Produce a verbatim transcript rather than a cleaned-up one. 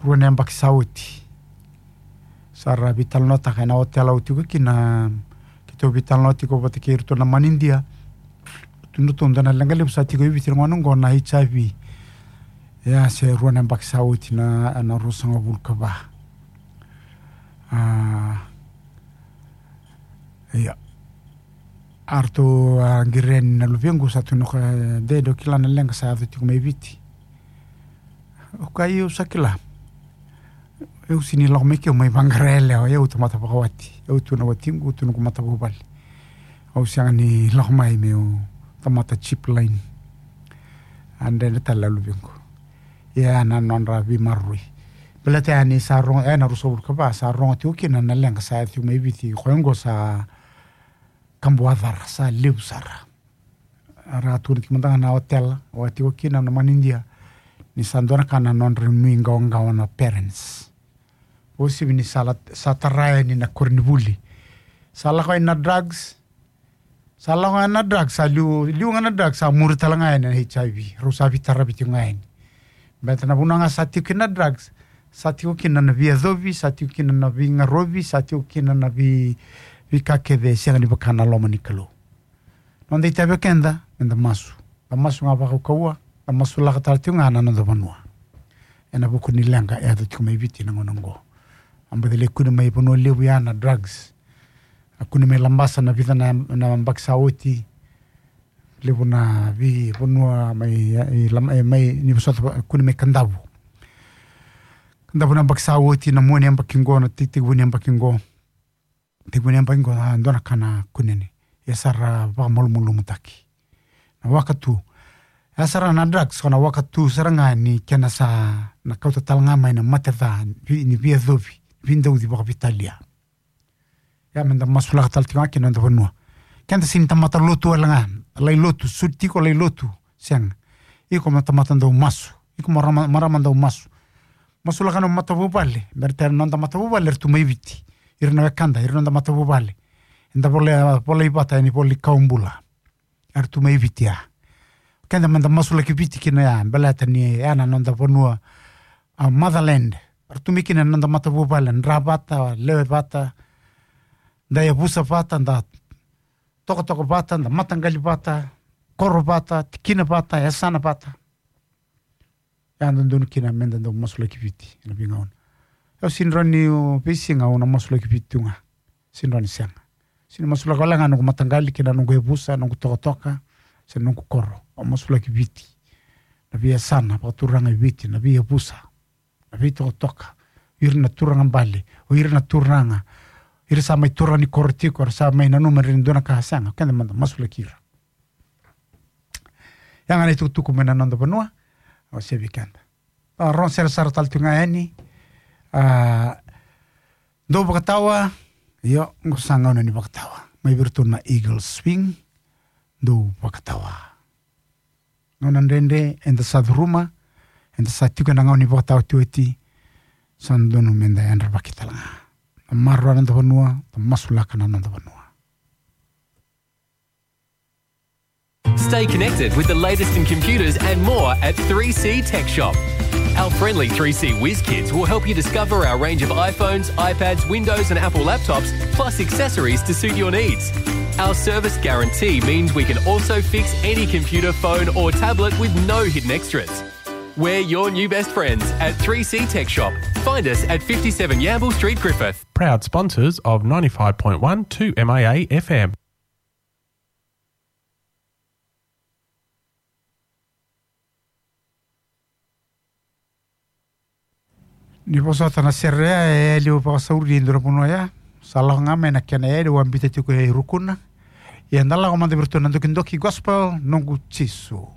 rua na yabaki sa oti. Sa ra veitalanoataka ena otela au tiko kina, keitou veitalanoa tiko vata kei iratou na manidia. Tukuna tu na leqa levu sa tiko i Viti na gauna oqo na H I V. Ia se rua na yabaki sa oti na, na ruasagavulu ka va. A, ia. A ratou a qiri yani na luvequ sa tukuna o koya, e, de, dou kila na leqa sa yaco tiko mai Viti. Au kaya io au sa kila. Au sega ni lako mai ke au mai vaqara yalewa, au tamata vakawati. Au tu na watiqu, au tu noqu matavuvale. Au sega ni lako mai meu tamata cheap line. A dredre tale na luvequ. Ia na nodra veimaroroi. Baleta yani sa rogo, e, na ruasagavulu ka va sa rogo tiko kina na leqa sa yaco tiko mai Viti, koya oqo sa kabuacara, sa levu sara. Era tukuna tiko mada ga na otela au a tiko kina na manidia ni sa dua na ka na nodra nuiqawaqawa na parents. Uasivi ni sa la, sa tara yani na koronivuli. Sa lako yani na drugs. Sa lako yani na drugs, sa liu, liu ga na drugs, sa muri tale ga yani na H I V. Rau sa veitaravi tiko ga yani. Baleta na vanua ga sa tiko kina na drugs, sa tiko kina na veiyacovi, sa tiko kina na veigarovi, sa tiko kina na vei, veika kece e sega ni vaka na loma ni Kalou. Noda itavi o keda, meda masu. Da masu ga vakaukauwa, da masulaka tale tiko ga na noda vanua. Ena vuku ni leqa e yaco tiko mai Viti na gauna oqo. A baci lai kune mai Vanua Levu ya na drugs. A kune mai Labasa na vica na, na yabaki sa oti. Levu na veivanua mai, i Lama-, e, mai, ni vosota, kune mai Kadavu. Kadavu na yabaki sa oti, na mua ni yabaki oqo, na tei-, tekivu ni yabaki oqo. Tekivu ni yabaki oqo, a, dua na ka na kunene. E sa ra vakamalumalumutaki. Na wakatu. E sa ra na drugs, ko na wakatu sara ga ni kena sa na kauta tale ga mai na mate ca, vi-, ni veiyacovi, veidauci vakaveitalia. Ia meda masulaka tale tiko ga kina noda vanua. Keda sega ni tamata lotu wale ga, lai lotu, sucu tiko lai lotu, sega. Iko mo tamata dau masu, iko mo marama, marama dau masu. Masulaka na matavuvale, baleta na noda matavuvale era tu mai Viti. Ira na wekada, ira na noda matavuvale. Eda vola, volai vata ena ivola ni Kawa Bula. Era tu mai Viti ya. Keda meda masulaki Viti kina ya, baleta ni ya na noda vanua, a, motherland. Era tu mai kina na noda matavuvale, dra vata, lewe vata, da yavusa vata, da tokatoka vata, da mataqali vata, koro vata, tikina vata, yasana vata. Ya dodonu kina meda dau masulaki Viti ena veigauna. Au sega ni rawa ni, o, veisiga au na masulaki Viti tu ga. Sega ni rawa ni sega. Sega ni masulaka wale ga noqu mataqali kei na noqu yavusa, noqu tokatoka, se noqu koro. Au masulaki Viti. Na veiyasana vakaturaga e Viti, na veiyavusa, na veitokatoka. O ira na turaga bale, o ira na turaga. Ira sa mai turaga ni koro tiko, era sa mai nanuma ni dua na ka, sega, keda meda masulaki ira. Ya ga na itukutuku mai na noda vanua, au sevi keda. A, rogo sere sara tale tu ga yani. A, dou vakatawa, io, qo sa gauna ni vakatawa. Mai vei iratou na Eagle Swing, dou vakatawa. Gauna dredre, eda sa curuma, eda sa tiko ena gauna ni vakatawa otioti, sa dodonu meda yadravaki tale ga. Da maroroya na noda vanua, da masulaka na noda vanua. Stay connected with the latest in computers and more at three C Tech Shop. Our friendly three C whiz kids will help you discover our range of iPhones, iPads, Windows, and Apple laptops, plus accessories to suit your needs. Our service guarantee means we can also fix any computer, phone, or tablet with no hidden extras. We're your new best friends at three C Tech Shop. Find us at fifty-seven Yamble Street, Griffith. Proud sponsors of ninety-five point one two M I A F M. Ni vosota na sere ya, e yali au vakasauri e dua na vanua ya. Sa lako ga mai na kena yali, au a biuta tiko e Rukuna. Ia da lako mada vei iratou na Dokidoki Gospel, Noqu Jisu.